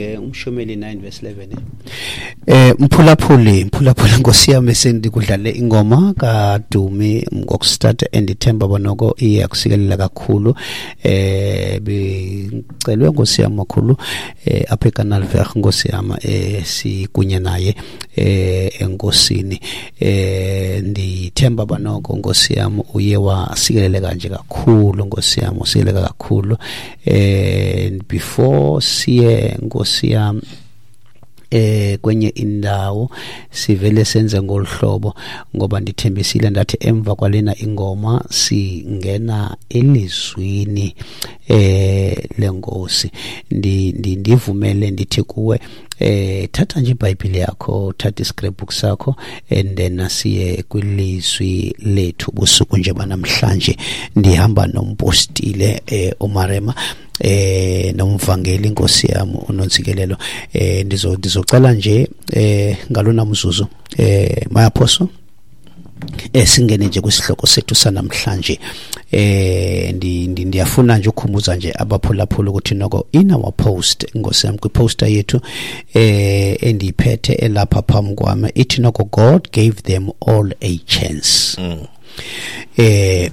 Umshumeli 9 verse 11. Mphulaphuli, mphulaphuli, nkosi yami, sendikudlale ingoma kaDumi ngokustarta, endithemba bonoko iyakusikelela kakhulu. Bicelwe, nkosi yami, makhulu apha eKanalveg, nkosi yami, sikunye naye enkosini. Ndithemba banoko, nkosi yami, uye wasikeleleka nje kakhulu, nkosi yami, usikeleleka kakhulu. Before siye, nkosi yami, kwenye indawo, sivele senze ngolhlobo, ngoba ndithembisile ndathi emva kwalena ingoma singena elizwini lenkosi. Ndivumele ndithi kuwe, thatha nje iBhayibhile yakho, thatha iscrapbook sakho, and then siye kwilizwi lethu busuku nje banamhlanje. Ndihamba nompostile uMarema nomvangeli, inkosi yami, uNontsikelelo. Ndizocela nje ngalona mzuzu, mayaphoso, singene nje kwisihloko sethu sanamhlanje. Ndiyafuna nje ukukhumbuza nje abaphulaphula ukuthi noko in our post, nkosi yami, kwiposter yethu endiyiphethe elapha phambi kwami, ithi noko "God gave them all a chance."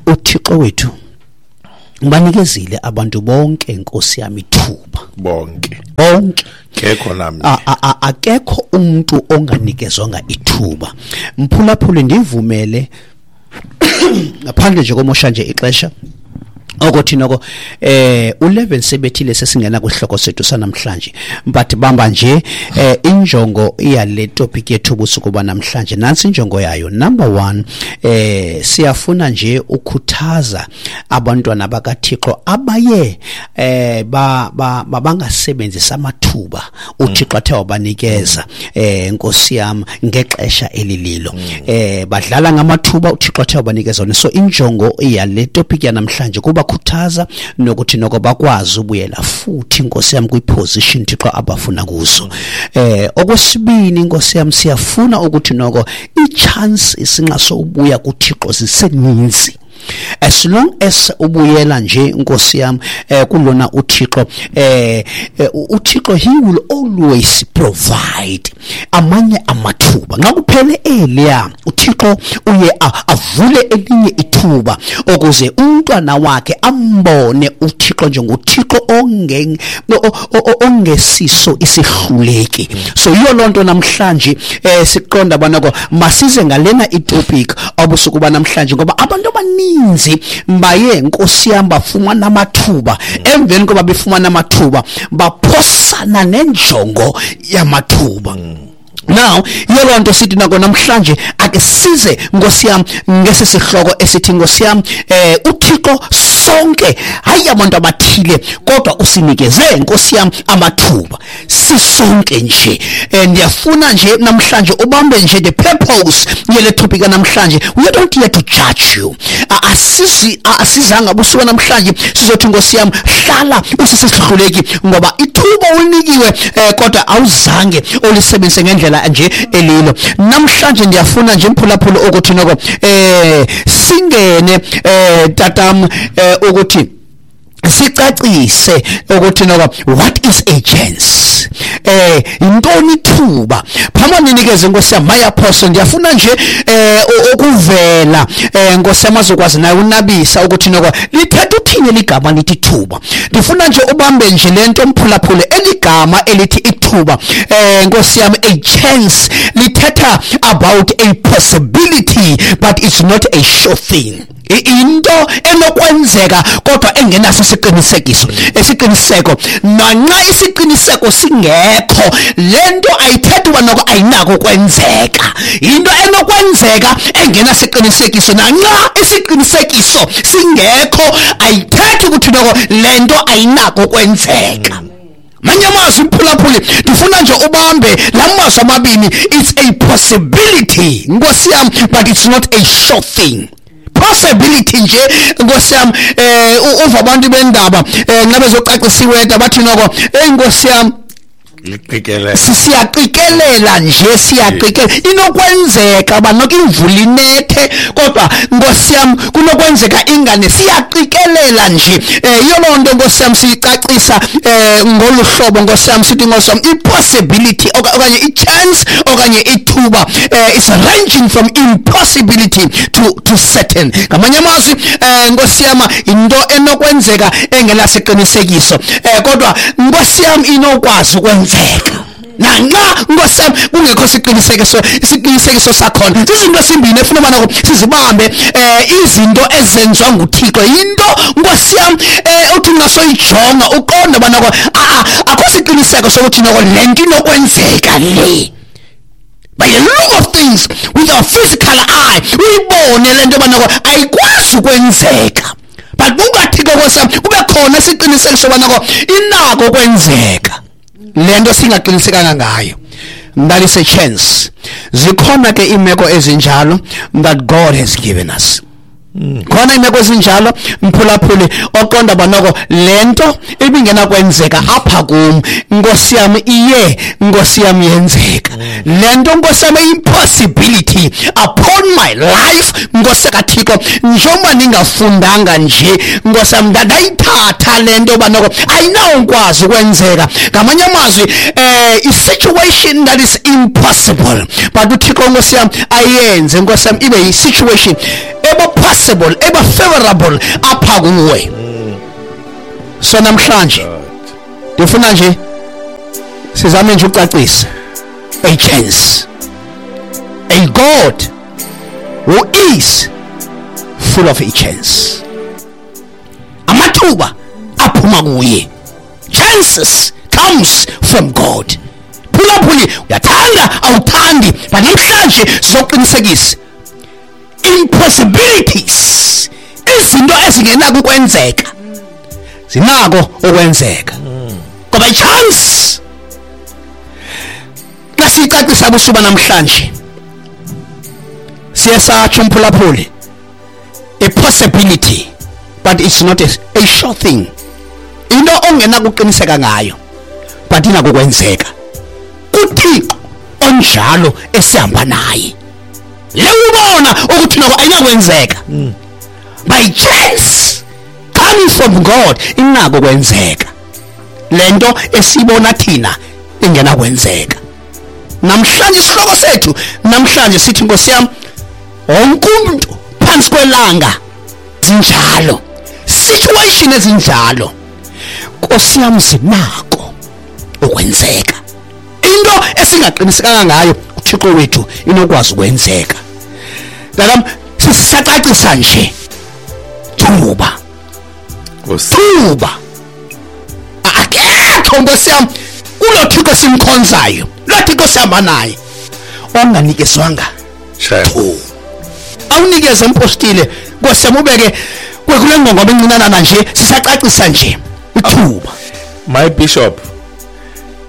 UThixo wethu banikezile abantu bonke, nkosi yami, ithuba. Bonke. Bonke. Kekho namnye. Akekho umuntu onganikezwanga ithuba. Mphulaphuli, ndivumele ngaphandle nje komosha nje ixesha okuthi noko u11 sebethile, sesingena kwihloko sethu sanamhlanje, but bamba nje injongo yale topic yethu busuku banamhlanje. Nansi injongo yayo. Number 1, siyafuna nje ukhuthaza abantwana bakaThixo abaye ba bangasebenzisa amathuba uThixo athe wabanikeza, nkosi yami, ngexesha elililo. Badlala ngamathuba uThixo athe wabanikeza wona. So injongo yale topic yanamhlanje kuba khuthaza nokuthi noko bakwazi ubuyela futhi, nkosi yami, kwiposition Thixo abafuna kuzo. Okwesibini, nkosi yami, siyafuna ukuthi noko i-chance isinqaso ubuya kuThixo ziseninzi. As long as ubuyela nje, nkosi yami, kulona uThixo, uThixo, he will always provide amanye amathuba. Nxa kuphele eliya, uThixo uye avule elinye ithuba ukuze umntwana wakhe ambone uThixo njengoThixo ongesiso isihluleki. So yiyo loo nto namhlanje siqonda banako masize ngalena itopic obusuku banamhlanje, ngoba abantu abaninzi baye, nkosi yami, bafumana amathuba, emveni koba befumana amathuba baphosana nenjongo yamathuba. Now yiyo loo nto sithi nako namhlanje ake size, nkosi yami, ngesi sihloko esithi, nkosi yami, uThixo sonke, hayi abantu abathile, kodwa usinikeze, nkosi yami, amathuba sisonke nje. Ndiyafuna nje namhlanje ubambe nje the purpose yele topic namhlanje. We don't here to judge you. Asizi asizanga busuku namhlanje sizothi, nkosi yami, hlala usisihluleki ngoba ithuba ulinikiwe, kodwa awuzange ulisebenzise ngendlela nje elilo. Namhlanje ndiyafuna nje, mphulaphula, ukuthi noko singene, tatam, ukuthi sicacise ukuthi noko what is a chance, intoni ithuba. Phambi ninikeze, nkosi yami, my apostle, ndiyafuna nje ukuvela, nkosi yami, azokwazi naye unabisa ukuthi noko lithetha uthini ligama lithi ithuba. Ndifuna nje ubambe nje lento, mphulaphule, eligama elithi ithuba, nkosi yami, a chance, lithetha about a possibility but it's not a sure thing. Into enokwenzeka kodwa engenaso isiqinisekiso, esiqiniseko. Nanxa isiqiniseko singekho, lento ayithethi uba noko ayinako kwenzeka. Into enokwenzeka engenasiqinisekiso, nanxa isiqinisekiso singekho, ayithethi ukuthi noko lento ayinako kwenzeka. Manye amazwi, mphulaphuli, ndifuna nje ubambe la mazwi amabini: it's a possibility, nkosi yami, but it's not a sure thing. Possibility nje, nkosi yami, uva abantu bendaba nxa bezocacisa iweather bathi noko, hey, nkosi yami, Siyaqikelela nje, siyaqikelela. Inokwenzeka uba noko imvula inethe, kodwa Nkosi yam kunokwenzeka ingane. Siyaqikelela nje. Yiyo loo nto Nkosi yam siyicacisa ngolu hlobo Nkosi yam, sithi Nkosi yam i-possibility okanye i-chance okanye ithuba is ranging from impossibility to certain. Ngamanye amazwi Nkosi yam into enokwenzeka engenasiqinisekiso, kodwa Nkosi yam inokwazi ukwenzeka nanxa Nkosi yam kungekho siqinisekiso sakhona. Zizinto esimbini efuna ubana sizibambe, izinto ezenziwa nguThixo. Yinto Nkosi yam uthi ungasoyijonga uqonde ubana akho siqiniseko sokuthi noko le nto inokwenzeka le. By the look of things with our physical eye uyibone le nto yoba noko ayikwazi ukwenzeka, but kungaThixo Nkosi yam kube khona isiqinisekiso soba noko inako ukwenzeka le nto singaqinisekanga ngayo. That is a chance. Zikhona ke iimeko ezinjalo that God has given us. Khona iimeko ezinjalo mphulaphuli oqonda banoko le nto ibingenakwenzeka apha kum, Nkosi yam iye, Nkosi yam yenzeka. Le nto Nkosi yam impossibility upon my life, Nkosi kaThixo, njengoba ningafundanga nje Nkosi yam ndayithatha le nto banoko ayinawukwazi ukwenzeka. Ngamanye amazwi i-situation that is impossible, but uThixo Nkosi yam ayenze Nkosi yam ibe yi-situation eba possible, eba favorable apha kuwe. So namhlanje ndifuna nje sizame nje ucacisa a chance, a God who is full of a chance. Amathuba aphuma kuye. Chances comes from God. Phulaphuli, uyathanda awuthandi, but namhlanje sizoqinisekisa impossibilities, izinto ezingenako ukwenzeka zinako ukwenzeka ngoba i-chance. Xa siyicacisa busuba namhlanje siye satsho umphulaphuli, a possibility but it's not a sure thing, into ongenakuqiniseka ngayo but inako ukwenzeka kuThixo onjalo esihamba naye. Le ubona ukuthi noko ayinakwenzeka, by chance coming from God inako kwenzeka. Lento esibona thina ingenakwenzeka. Namhlanje isihloko sethu namhlanje sithi Nkosi yam wonke umuntu phansi kwelanga zinjalo, situation ezinjalo Nkosi yam zinako ukwenzeka. Into esingaqinisekanga ngayo uThixo wethu inokwazi ukwenzeka. Ngakam sisacacisa nje thuba thuba akekho Nkosi yam kulo Thixo simkhonzayo, lo Thixo sihamba naye onganikezwanga thuba. Awunikeze umpostile Nkosi yam ubeke kule ngongoma encinanana nje sisacacisa nje ithuba. My bishop,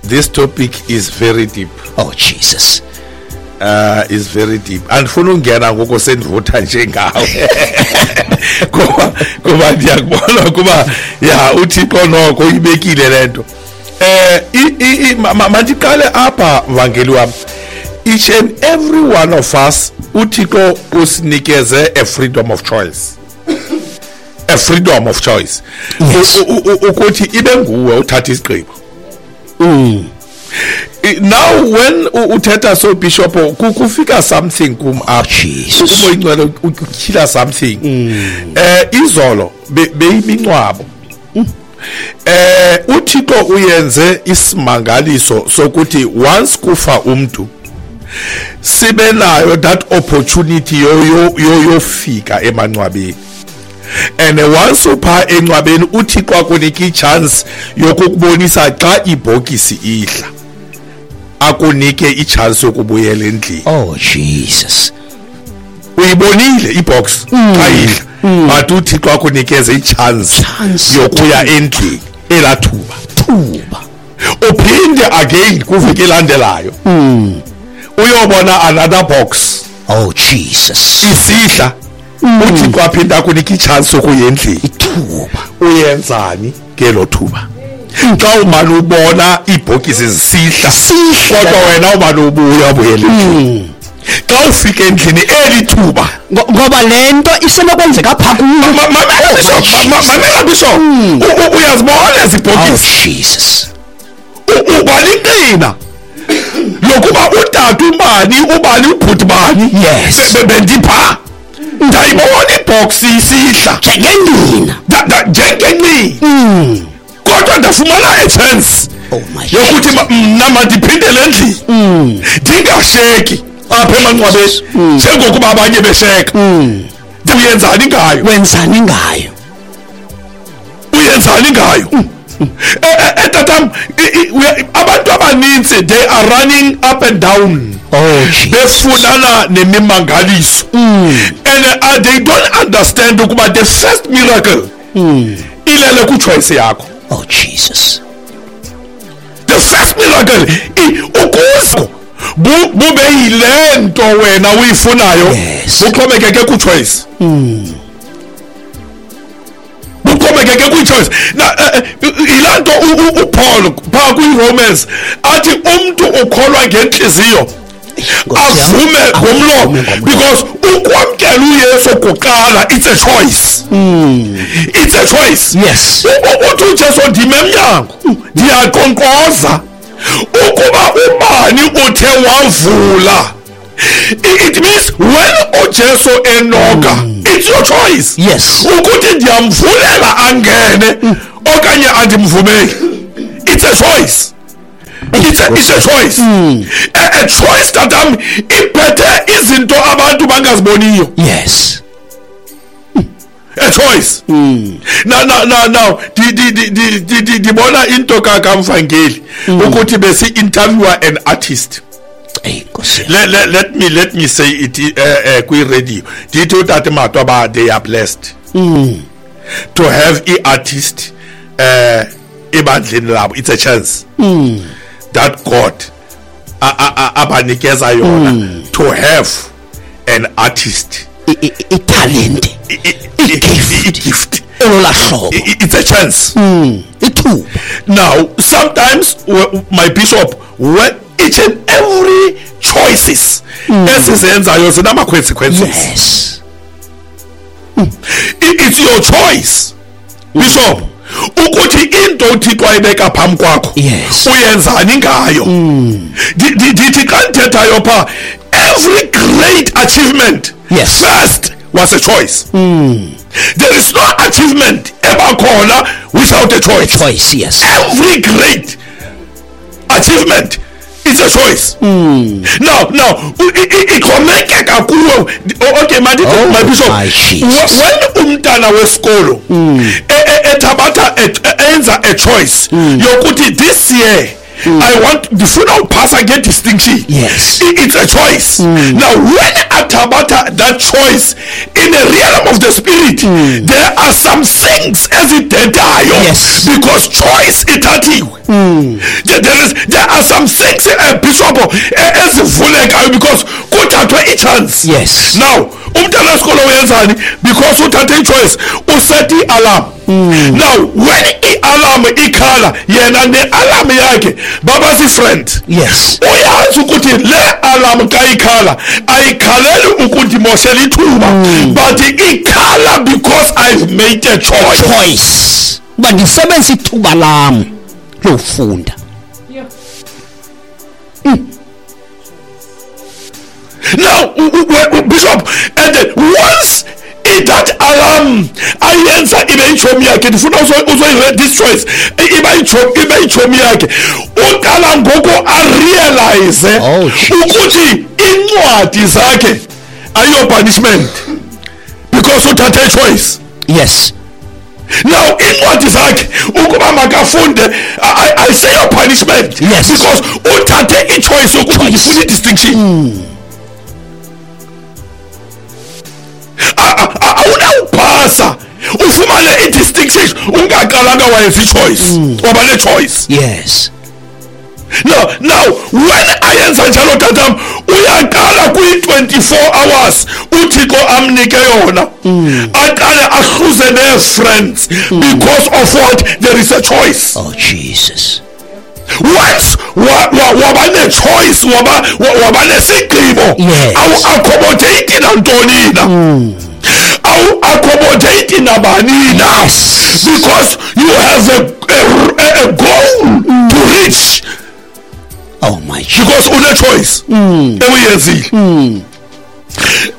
this topic is very deep. Oh Jesus. Is very deep. Andifuna ungena ngoku sendivutha nje ngawe. Kuba ndiyakubona kuba ya uThixo noko uyibekile lento. Mandiqale apha mvangeli wam. Each and every one of us uThixo usinikeze a freedom of choice. A freedom of choice. Yes. Ukuthi ibe nguwe uthatha isigqibo. Now when uthetha so bishop kufika something kum up. Umoyingcwele utyhila something. Izolo beyimincwabo. uThixo uyenze isimangaliso sokuthi once kufa umuntu sibe nayo that opportunity yofika emancwabeni. And once upha encwabeni uThixo akunika ichance yokukubonisa xa ibhokisi ihla, akunike ichance yokubuyela endlini. Oh Jesus. Uyibonile ibox xa ihla, but uThixo akunikeze ichance yokuya endlini elathuba. Thuba. Uphinde again kuviki elandelayo. Uyobona another box. Oh Jesus. Isihla. uThixo aphinda akunika ichance yokuya endlini. Ithuba. Uyenzani ngelo thuba? Xa umane ubona iibhokisi zisihla, Sihla. kodwa wena umane ubuya ubuyela endlini. Xa ufika endlini eli thuba, Ngoba le nto isenokwenzeka pha kuwe. Mamela bishop, mamela bishop, uyazibona ezi Oh bhokisi, Jesus. uba liqina lokuba utata ubani, ubani, ubhuti bani, Yes. bendipha ndayibona ibhoksi isihla Njengenina. Njengenqina, kodwa ndafumana a chance Oh my yokuthi mna mandiphindele endlini, ndingasheki apha emangcwabeni njengokuba abanye besheka. Uyenzani ngayo? Wenzani ngayo? Uyenzani ngayo? Tatam, abantu abaninzi, they are running up and down Oh Jesus. befunana nemimangaliso, and they don't understand ukuba the first miracle ilele kwichoice yakho. Oh Jesus. The first miracle, ukuze bube yile nto wena uyifunayo, buxhomekeke kwichoice, buxhomekeke kwichoice. Na yilaa nto uPaul phaa kwiRomans athi umntu ukholwa ngentliziyo, Nkosi yam. avume ngomlomo, Avume ngomlomo. because ukwamkela uYesu kuqala, it's a choice, it's a choice. Uthi uJesu, ndime emnyango ndiyaqonkqoza, ukuba ubani uthe wavula. It means when uJesu enoka, it's your choice ukuthi ndiyamvulela angene okanye andimvumeli. It's a choice, it's a choice, a choice, tatam, iphethe izinto abantu bangaziboniyo. A choice. Now ndibona into kaMvangeli ukuthi besi-interviewer an artist. Ey Nkosi yam. Let me say it kwi-radio, ndithi utata Matwa ba they are blessed to have i-artist ebandleni labo. It's a chance that God abanikeza yona to have an artist. Italente. I-gift. I-gift. Olola hlobo. It's a chance. Ithuba. Now sometimes, my bishop, when each and every choices esizenzayo zinama-consequences. It's your choice, bishop, ukuthi into uThixo ayibeka phambi kwakho, uyenzani ngayo. Ndithi xa ndithethayo phaa, every great achievement first was a choice. There is no achievement ebakhona without a choice. Choice, yes. Every great achievement is a choice. Now ixhomekeka kuwe. Okay, mandithi, Oh, my bishop, my Jesus. When umntana wesikolo ethabatha enza a choice yokuthi this year I want, ndifuna uphasa nge-distinction. It's a choice. Now when athabatha that choice in the realm of the spirit, there are some things ezidentayo, because choice ithathiwe. There are some things, bishop, ezivulekayo because kuthathwe i-chance. Now umntana wesikolo uyenzani? Because uthathe i-choice, uset i-alarm. Now when i-alarm ikhala, yena ne-alarm yakhe baba si-friend. Uyazi ukuthi le alarm xa ikhala, ayikhaleli ukundimoshela ithuba, but ikhala because I've made a choice. Choice. Uba ndisebenzise ithuba lam lofunda. Now, bishop, and then once that alarm ayenza ibe itshomi yakhe, ndifuna uzoyi this choice ibe itshomi yakhe, uqala ngoku arealize Oh, Jesus. ukuthi incwadi zakhe ayiyo punishment because uthathe choice. Now incwadi zakhe ukuba makafunde ayiseyo punishment, because uthathe ichoice yokuthi ndifuna i-distinction. Awunawuphasa ufumane i-distinction ungaqalanga wayenza i-choice, waba ne-choice. Now when ayenza njalo tatam, uyaqala kwi-24 hours uThixo amnike yona, aqale ahluze nee-friends because of what? There is a choice. Oh Jesus. Once waba ne-choice, waba nesigqibo, awu-accommodate nantoni na, awu-accommodate nabani na, because you have a goal to reach. Oh my Jesus. Because une choice ewuyenzile.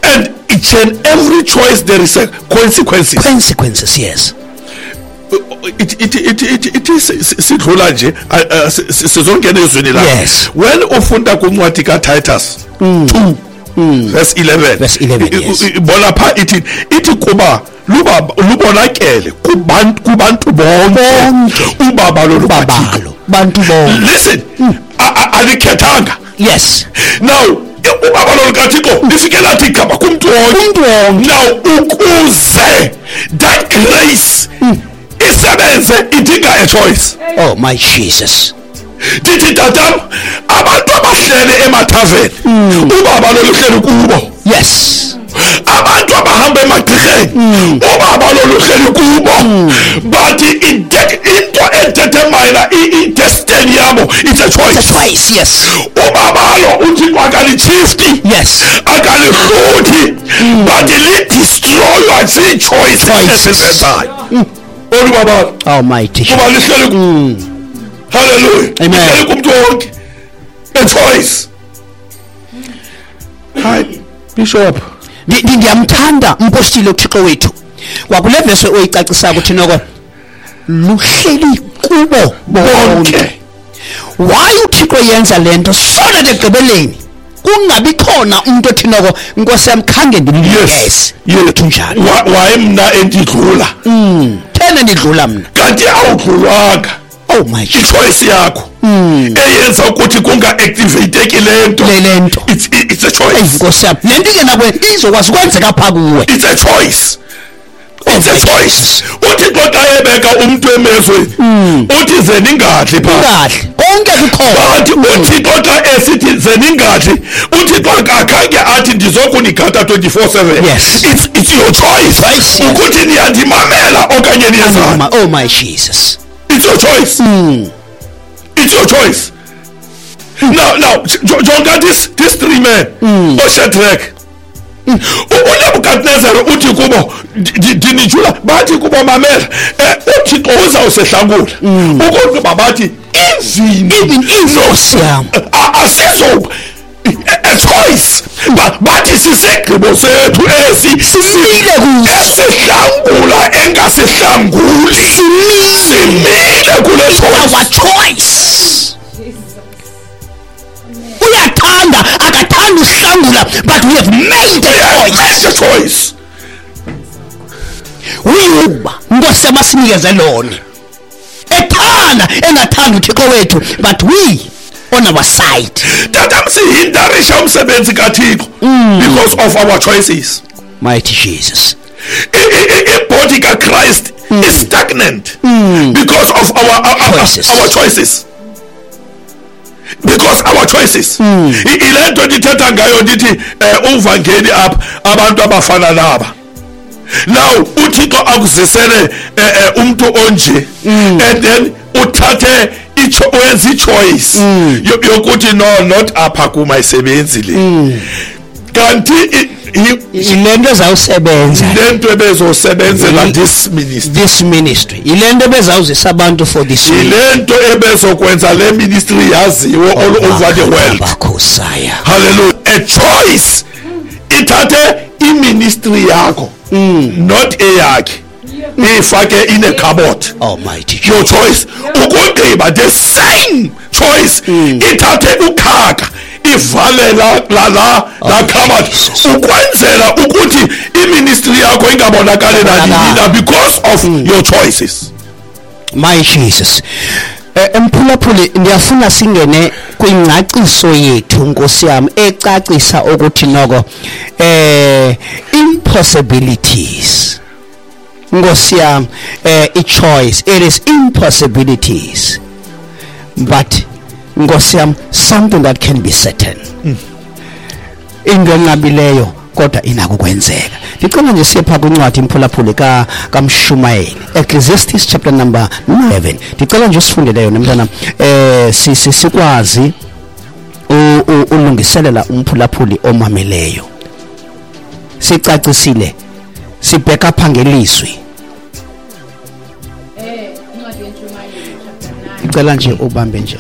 And each and every choice there is a consequences. Consequences, yes. It is sidlula nje sizongena ezweni la. Yes. When ufunda kuncwadi kaTitus 2 verse 11, verse 11, yes. Bona pha ithi kuba lubonakele kubantu bonke ubabalo lubabalo bantu bonke. Listen, alikhethanga. Yes. Now ubabalo lukaThixo lifike lathi gaba kumntu wonke. Now ukuze that grace isebenze idinga a choice. Oh my Jesus. Ndithi tatam, abantu abahlele emathaveni ubabalo luhleli kubo. Yes. Abantu abahamba emagqirheni ubabalo luhleli kubo. But into edetermine i-destiny yabo, it's a choice. It's a choice, yes. Ubabalo uThixo akalichifti. Yes. Akalihluthi, but lidestroywa zii-choices ezizenzayo. Olubabalo. Almighty. Kuba lihleli. Hallelujah. Amen. Lihleli kumntu wonke. A choice. Hi, Bishop. Ndiyamthanda umpostile uThixo wethu. Kwakule verse oyicacisa ukuthi noko luhleli kubo bonke. Why uThixo yenza lento so that ekugqibeleni kungabi khona umuntu othi noko Nkosi yami khange ndimnikeze. Yethu njalo. Why mna endidlula? Thena ndidlula mna. Kanti awudlulwanga. Oh my Jesus. I-choice yakho eyenza ukuthi kunga-activateki lento. Le nto. It's a choice. Nkosi yami, lento ingena izokwazi ukwenzeka pha kuwe. It's a choice. It's a choice. Uthi xa ebeka umuntu emezweni, uthi ze ningadli pha. Ungadli. Konke kukhona. But uThixo xa esithi ze ningadli, uThixo akhange athi ndizokunigada 24/7. Yes. It's your choice. Choice, yes. Ukuthi niyandimamela okanye niyenzani. Oh my Jesus. It's your choice. It's your choice. Now, jonga this three men, oShadrach, uNebukadnezar uthi kubo ndinijula, bathi kubo mamela, uThixo uzawusehlangula. Ukuba bathi even inkosi yam asizo a choice. Bathi sisigqibo sethu esi simile kuso, esihlangula engasihlanguli, simile kule choice. Our choice. Uyathanda akathanda uhlangula, but we have made the choice. Made the choice. Uyuba Nkosi yamasinikeze lona. Ethanda engathanda uThixo wethu, but we on our side. Tatam sihindarisha umsebenzi kaThixo because of our choices. Mighty Jesus. I-body kaChrist is stagnant because of our choices. Our choices. Because our choices. Ile nto ndithetha ngayo ndithi uvangeli apha abantu abafana naba. Now uThixo akuzisele umuntu onje and then uthathe wenza i-choice yokuthi no, not apha kumayisebenzi le. Kanti ilento ezawusebenza, lento ebezosebenzela this ministry, this ministry, ilento ebezawuzisa abantu for this, ilento ebezokwenza le ministry yaziwe all over the world. Hallelujah. A choice ithathe i-ministry yakho, not eyakhe, ifake in a cupboard. Almighty your choice. Ukugqiba the same choice ithathe ukhaka ivale la cupboard ukwenzela ukuthi i-ministry yakho ingabonakali nanini because of your choices. My Jesus. Mphulaphuli, ndiyafuna singene kwingcaciso yethu Nkosi yami ecacisa ukuthi noko impossibilities Nkosi yami, i-choice, it is impossibilities, but Nkosi yam, something that can be certain, into enqabileyo kodwa inako ukwenzeka. Ndicela nje siye phaa kwincwadi, imphulaphuli, kaMshumayeli, Ecclesiastes chapter number 11. Ndicela nje usifundele yona, mntana, sikwazi ulungiselela umphulaphuli omameleyo. Sicacisile, sibheka apha ngelizwi. Incwadi yentshumayeli chapter 9. Ndicela nje ubambe nje.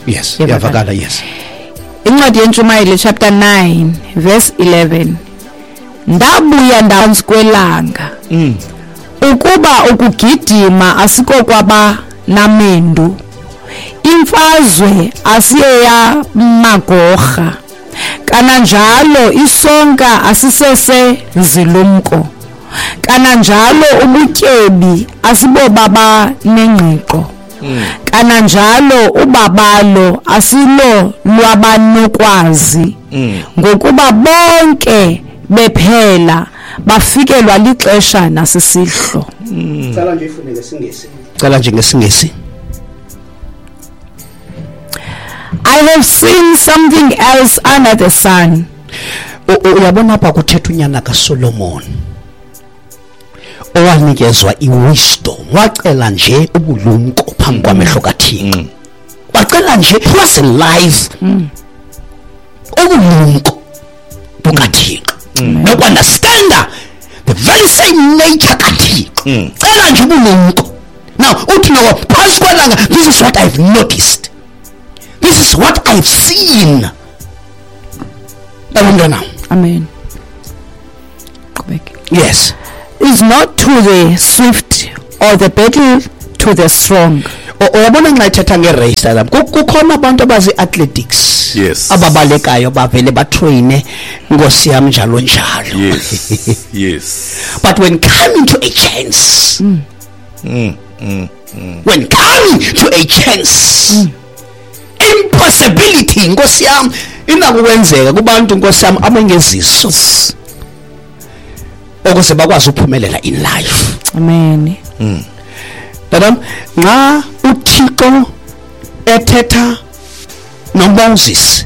Yes. Iyavakala. Iyavakala, yes. Incwadi yentshumayeli chapter 9 verse 11. Ndabuya ndaphantsi kwelanga ukuba ukugidima asikokwaba namendu, imfazwe asiyeyamagorha, kananjalo isonka asisese zilumko, kananjalo ubutyebi asibobaba nengqiqo, kananjalo ubabalo asilo lwabanokwazi, ngokuba bonke bephela bafikelwa lixesha nasisihlo. Cela nje ifunde ngesingesi, cela nje ngesingesi. I have seen something else under the sun. Uyabona apha kuthetha unyana kaSolomon owanikezwa iwisdom, wacela nje ubulumko phambi kwamehlo kaThixo, wacela nje plus life ubulumko bukaThixo nokunderstanda the very same nature kaThixo. Cela nje ubulumko. Now uthi noko phantsi kwelanga, this is what I've noticed, this is what I've seen. Abantwana. Amen. Qhubeke. Yes. Is not to the swift or the battle to the strong. Uyabona nxa ethetha ngerace lapha, kukhona abantu abazi-athletics ababalekayo, bavele batraine, nkosi yam, njalo njalo. But when coming to a chance, when coming to a chance, impossibility, nkosi yam, inako ukwenzeka kubantu, nkosi yam, abangeziso ukuze bakwazi ukuphumelela in life. Amen. Tata, nxa uThixo ethetha noMoses